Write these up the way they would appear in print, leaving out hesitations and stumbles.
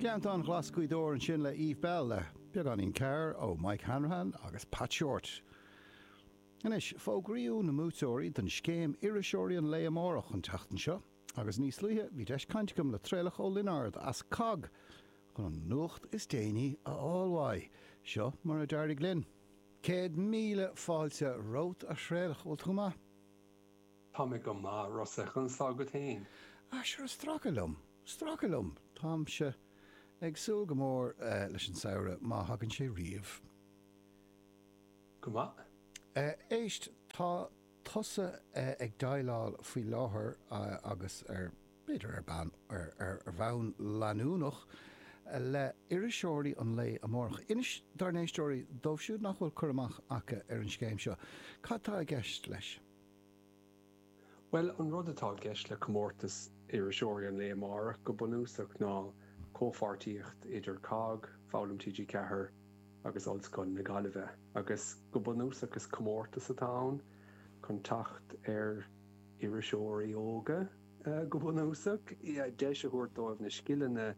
Gleanntán Ghlas Ghaoth Dobhair ansin le Eve Belle le beagáinín cabhair ó Mike Hanrahan agus Pat Shortt. Anois, fógraíodh na mbuaiteoirí don scéim Iriseoirí an Lae Amárach an tseachtain seo agus níos luaithe bhí deis caint agam le Traolach Ó Lionáird as cogg chun an nuacht is déanaí a fháil uaidh. Seo mar a d'éirigh linn. 100,000 fáilte romhat a Thraolach, bhfuil tú go maith? Tá mé go maith, Rossa, conas tá agat féin? Ah, sure, stracadh liom, stracadh liom. Táimse ag súil go mór leis an samhradh, má thagann sé riamh. Go maith. Éist, tá tusa ag déileáil faoi láthair agus ar, b'fhéidir ar bonn, ar bhonn leanúnach le Iriseoirí an Lae Amárach. Inis dár n-éisteoirí, dóibh siúd nach bhfuil cur amach acu ar an scéim seo, cad tá i gceist leis? Bhuel, an rud atá i gceist le comórtas Iriseoirí an Lae Amárach go bunúsach ná comhpháirtíocht idir cogg, Foghlaim TG4 agus Ollscoil na Gaillimhe. Agus go bunúsach is comórtas atá ann chun teacht ar iriseoirí óga go bunúsach, deis a thabhairt dóibh na scileanna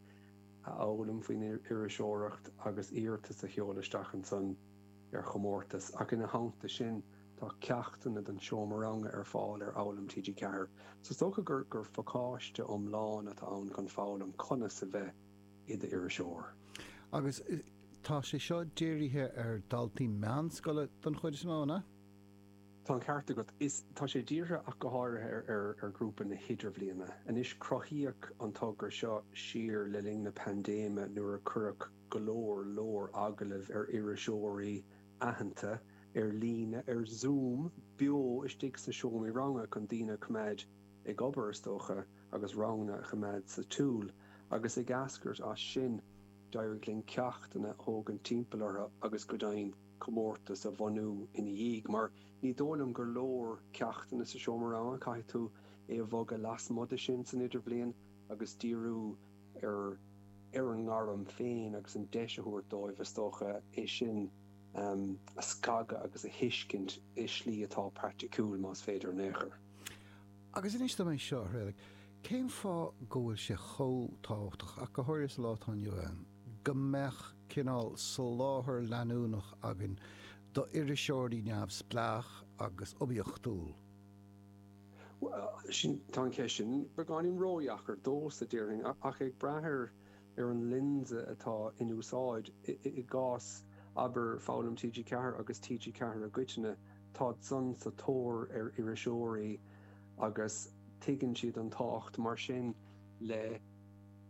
a fhoghlaim faoin iriseoireacht agus iarratas a sheoladh isteach ansan ar chomórtas. Ach ina theannta sin, tá ceachtanna don seomra ranga ar fáil ar Fhoghlaim TG4. So is dócha gur gur phacáiste iomlán atá ann chun foghlaim conas a bheith i d'iriseoir. Agus tá sé seo dírithe ar dhaltaí meánscoile don chuid is mó, an ea? Tá an ceart agat. Is tá sé dírithe ach go háirithe ar ar ar ghrúpa na hIdirbhliana. Anois cruthaíodh an togra seo siar le linn na paindéime nuair a cuireadh go leor leor agallamh ar iriseoirí aitheanta ar líne, ar Zoom, beo istigh sna seomraí ranga chun daoine a choimeád ag obair, is dócha, agus ranganna a choimeád sa tsiúl. Agus ag eascairt as sin, d'éirigh linn ceachtanna a thógaint timpeall orthu agus go deimhin comórtas a bhunú ina dhiaidh. Mar ní dóigh liom gur leor ceachtanna sa seomra ranga, caithfidh tú é a bhogadh lasmuigh de sin san idirbhliain agus díriú ar ar an ngairm féin agus an deis a thabhairt dóibh, is dócha, é sin a scagadh agus a thuiscint i slí atá praiticiúil, más féidir in aon chor. Agus inis dom é seo, a Thraolaigh, cén fáth go bhfuil sé chomh tábhachtach, ach go háirithe sa lá atá inniu ann, go mbeadh cineál soláthar leanúnach againn d'iriseoirí neamhspleách agus oibiachtúil? Bhuel, sin, tá an cheist sin beagáinín ródheacair domhsa, déarfainn, ach ag brath ar ar an lionsa atá in úsáid. I gcás, abair, Foghlaim TG4 agus TG4 i gcoitinne, táid san sa tóir ar iriseoirí agus tuigeann siad an tábhacht, mar sin, le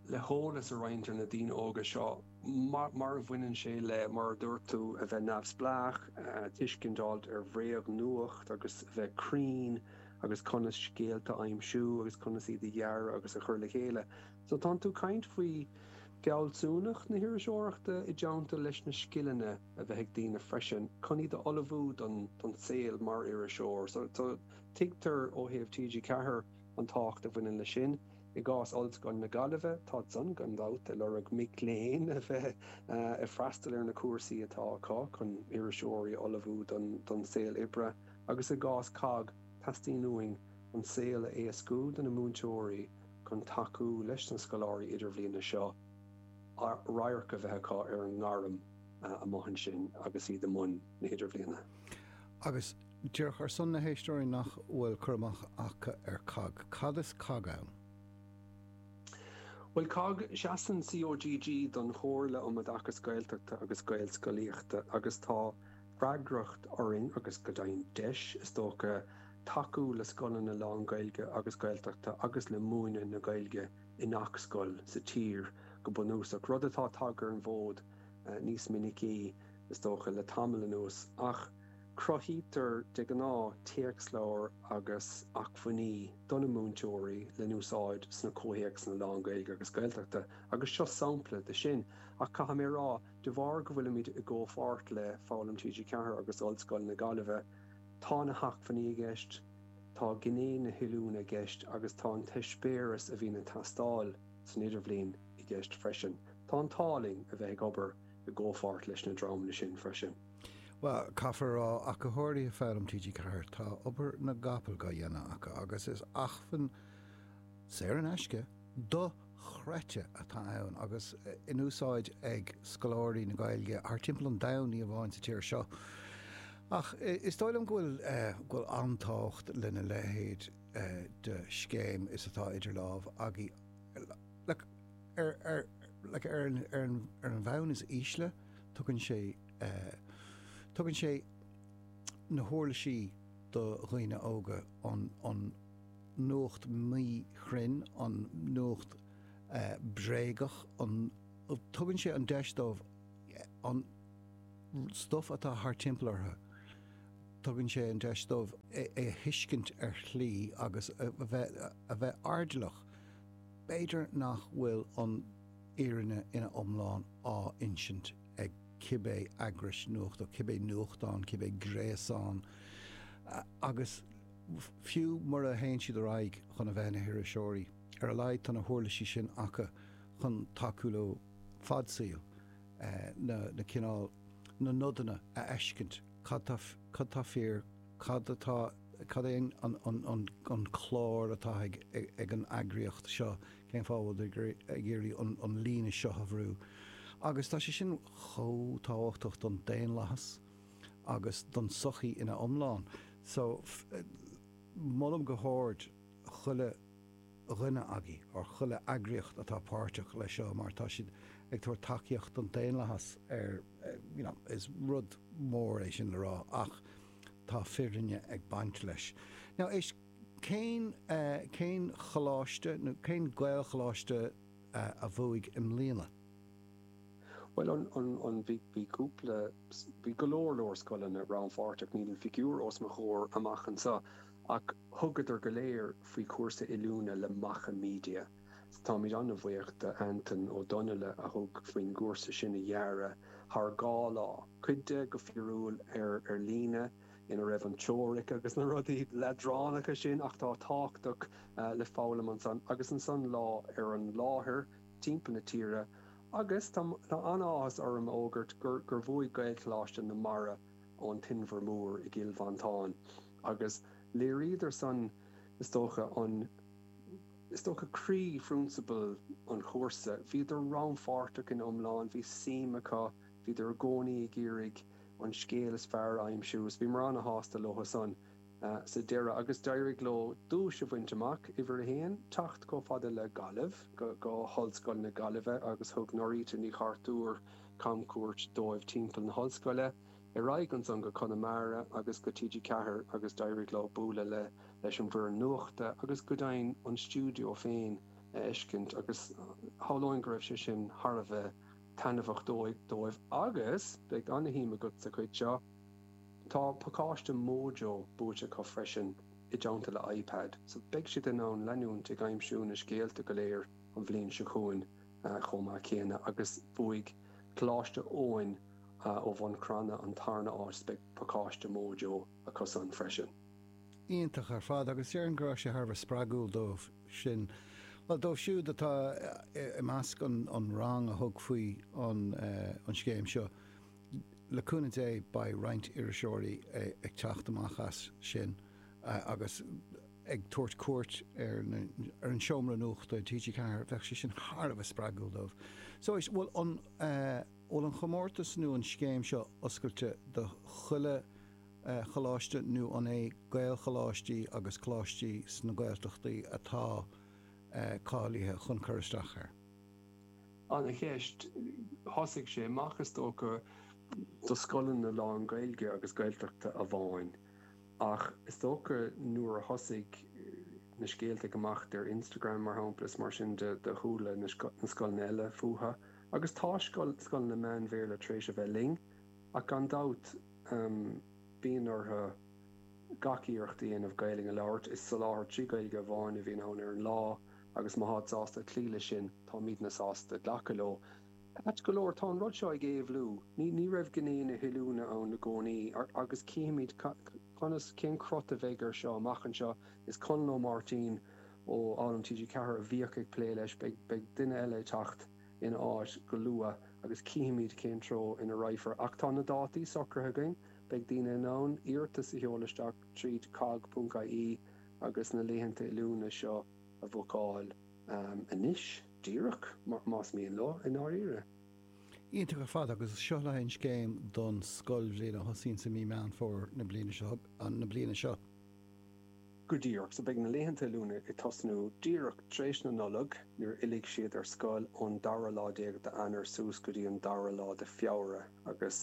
le heolas a roinnt ar na daoine óga seo mar a bhaineann sé le, mar a dúirt tú, a bheith neamhspleách, tuiscint a fháilt ar bhréagnuacht agus a bheith cruinn agus conas scéalta a aimsiú agus conas iad a dhearadh agus a chur le chéile. So tánn tú ag caint faoi fealsúnacht na hiriseoireachta i dteannta leis na scileanna a bheith ag daoine freisin chun iad a ullmhú don don saol mar iriseoir. So so tuigtear ó thaobh TG4 an tábhacht a bhaineann leis sin. I gcás Ollscoil na Gaillimhe, táid san gan dabht ag lorg mic léinn a bheith ag freastal ar na cúrsaí atá acu chun iriseoirí a ullmhú don don saol oibre. Agus i gcás cogg, teastaíonn uainn an saol a éascú do na múinteoirí chun tacú leis na scoláirí idirbhliana seo radharc a bheith acu ar an ngairm amuigh ansin agus iad i mbun na hidirbhliana. Agus díreach ar son na héisteoirí nach bhfuil cur amach acu ar cogg, cad is cogg ann? Bhuel, cogg, seasann COGG don Chomhairle um Oideachas Gaeltachta agus Gaelscolaíochta agus tá freagracht orainn, agus go deimhin deis, is dócha, tacú le scoileanna lán-Ghaeilge agus Gaeltachta agus le múineadh na Gaeilge i ngach scoil sa tír, go bunúsach, rud atá tagtha ar an bhfód níos minicí, is dócha, le tamall anuas. Ach cruthaítear de ghnáth téacsleabhair agus acmhainní do na múinteoirí le n-úsáid sna comhthéacsanna lán-Ghaeilge agus Gaeltachta, agus seo sampla de sin. Ach caithfidh mé a rá, de bharr go bhfuilimid i gcomhpháirt le Foghlaim TG4 agus Ollscoil na Gaillimhe, Tá na hacmhainní i gceist, tá gné na hoiliúna i gceist agus tá an t-eispéireas a bhíonn ag teastáil san idirbhliain i gceist freisin. Tá an t-ádh linn a bheith ag obair i gcomhpháirt leis na dreamanna sin freisin. Bhuel, caithfear a rá, ach go háirithe Foghlaim TG4, tá obair na gcapall dhá dhéanamh acu agus is acmhainn saor in aisce, do. dochreidte atá ann agus in úsáid ag scoláirí na Gaeilge thar timpeall an domhain, ní amháin sa tír seo. Ach is dóigh liom go bhfuil go bhfuil an-tábhacht lena leithéid de scéim is atá idir lámh agaibh. Like, ar, ar, like, ar, an, ar, an, ar an bhonn is ísle, tugann sé, tugann sé na huirlisí do dhaoine óga an, an nuacht míchruinn, an nuacht bréagach, an, tugann sé an deis dóibh an stuif atá thar timpeall orthu, tugann sé an deis dóibh é a thuiscint ar shlí agus a bheith, a bheith airdeallach. B'fhéidir nach bhfuil an fhírinne ina iomlán á insint ag cibé eagrais nuachta, cibé nuachtán, cibé gréasán agus fiú mura théann siad ar aghaidh chun a bheith ina hiriseoirí, ar a laghad tá na huirlisí sin acu chun tacú leo fad saoil, na cineál, na nodanna a fheiscint, cad tá, cad tá fíor, cad atá, cad é an clár atá ag an eagraíocht seo, cén fáth a bhfuil ag iarraidh an líne seo a bhrú. Agus tá sé sin chomh tábhachtach don daonlathas agus don tsochaí ina iomlán. So, molaim go hard chuile dhuine agaibh, or chuile eagraíocht atá páirteach leis seo mar tá siad ag tabhairt tacaíocht don daonlathas ar, you know, is rud mór é sin le rá ach tá fírinne ag baint leis. Now, éist, cén, cén choláiste nó cén Gaelcholáiste a bhuaigh i mbliana? Bhuel, an, an, an, bhí, bhí cúpla, bhí go leor leor scoileanna rannpháirteach, níl an figiúr os mo chomhair amach anseo, ach thugadar go léir faoi chúrsa oiliúna le Macha Media. So táimid an-bhuíoch d'Antain Ó Donnaile a thug faoin gcúrsa sin a dhearadh thar 2 lá, cuid de go fíorúil ar ar líne, ina raibh an teoiric agus na rudaí leadránacha sin ach atá tábhachtach le foghlaim ansan, agus ansan lá ar an láthair timpeall na tíre. Agus tá an-áthas orm a fhógairt gur gur bhuaigh Gaelcholáiste na Mara ón Inbhear Mór i gCill Mhantáin agus léiríodar san, is dócha, an, is dócha, croí-phrionsabal an chúrsa. Bhíodar rannpháirteach ina iomlán, bhí suim acu, bhíodar i gcónaí ag iarraidh an scéal is fearr a aimsiú is bhíomar an-shásta leo san. sa deireadh agus d'éirigh leo duais a bhaint amach, uimhir a haon, teacht chomh fada le Gaillimh, go hOllscoil na Gaillimhe agus thug Norita Ní Chartúir camchuairt dóibh timpeall na hollscoile, ar aghaidh ansan go Conamara agus go TG4 agus d'éirigh leo bualadh le leis an bhfoireann nuachta agus go deimhin an stiúideo féin a fheiscint agus shamhlóinn go raibh sé sin thar a bheith taitneamhach dóibh agus beidh ana-shuim agat sa chuid seo. Tá pacáiste Mojo buaite acu freisin i dteannta le iPad, so beidh siad in ann leanúint ag aimsiú na scéalta go léir an bhliain seo chugainn chomh maith céanna. Agus bhuaigh Coláiste Eoin ó Bhun Cranncha an tarna áit, beidh pacáiste Mojo acusan freisin. Iontach ar fad, agus déarfainn go raibh sé thar a bheith spreagúil dóibh sin, bhuel, dóibh siúd atá i measc an rang a thug faoi an scéim seo. Le cúnamh Dé beidh roinnt iriseoirí ag teacht amach as sin agus ag tabhairt cuairt ar ar an seomra nuachta TG4, bheadh sé sin thar a bheith spreagúil dóibh. So éist, bhfuil an bhfuil an chomórtas nó an scéim seo oscailte do chuile choláiste nó an é Gaelcholáistí agus coláistí sna Gaeltachtaí atá cáilithe chun cur isteach air? Ana-cheist. Thosaigh sé amach, is dócha, do scoileanna lán-Ghaeilge agus Gaeltachta amháin ach is dócha nuair a thosaigh na scéalta ag imeacht ar Instagram, mar shampla, is mar sin de, do chuala na scoileanna eile fúthu. Agus tá scoileanna meán-Bhéarla tar éis a bheith linn ach gan dabht bíonn orthu gach iarracht a dhéanamh Gaelainn a labhairt. Is soláthar 3 Ghaeilge amháin a bhíonn ann ar an lá. agus má tháid sásta cloí leis sin, táimidne sásta glacadh leo. Ait go leor, tá an rud seo ag éabhlú. Ní, ní raibh gné na hoiliúna ann i gcónaí, agus cífimid conas, cén crot a bheidh air seo amach anseo. Is Conall Ó Máirtín ó Fhoghlaim TG4 a bhíodh ag plé leis, beidh, beidh duine eile ag teacht ina áit go luath agus cífimid cén treo ina raghfar. Ach tá na dátaí socraithe againn, beidh daoine in ann iarratas a sheoladh isteach tríd cogg.ie agus na laethanta oiliúna seo a bhookáil anois, díreach, más mian leo, i ndáiríre. Iontach ar fad, agus seo le haghaidh an scéim don scoilbhliain a thosaíonn i mí Meán Fómhair na bliana seo, na bliana seo. Go díreach, so beidh na laethanta oiliúna ag tosnú díreach tar éis na Nollag, nuair a fhillfidh siad ar scoil ón dara lá déag d'Eanáir suas go dtí an dara lá de Feabhra agus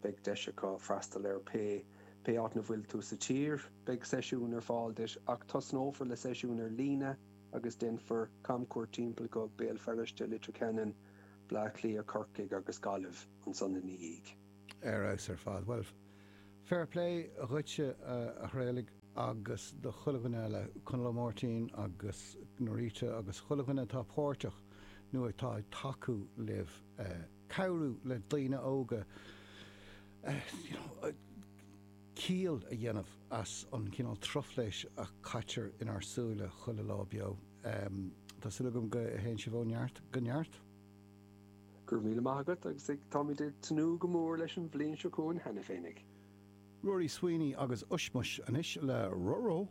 beidh deis acu freastal ar pé pé áit 'na bhfuil tú sa tír, beidh seisiún ar fáil duit ach tosnófar le seisiún ar líne agus déanfar camchuairt timpeall go Béal Feirste, Leitir Ceanainn, Bleá Cliath, Corcaigh agus Gaillimh ansan ina dhiaidh. Ar fheabhas ar fad. Bhuel, fair play dhuitse, a Thraolaigh, agus do chuile dhuine eile, Conall Ó Máirtín agus Norita agus chuile dhuine atá páirteach nó atá ag tacú libh, cabhrú le daoine óga, you know, ciall a dhéanamh as an chineál truflais a chaitear inár súile chuile lá beo. Tá súil agam go théann sibh ó neart go neart. Go raibh míle maith agat agus táimid ag tnúth go mór leis an bhliain seo chugainn cheana féinig. Ruairí Sweeney agus Ushmush anois le Ruh-Roh.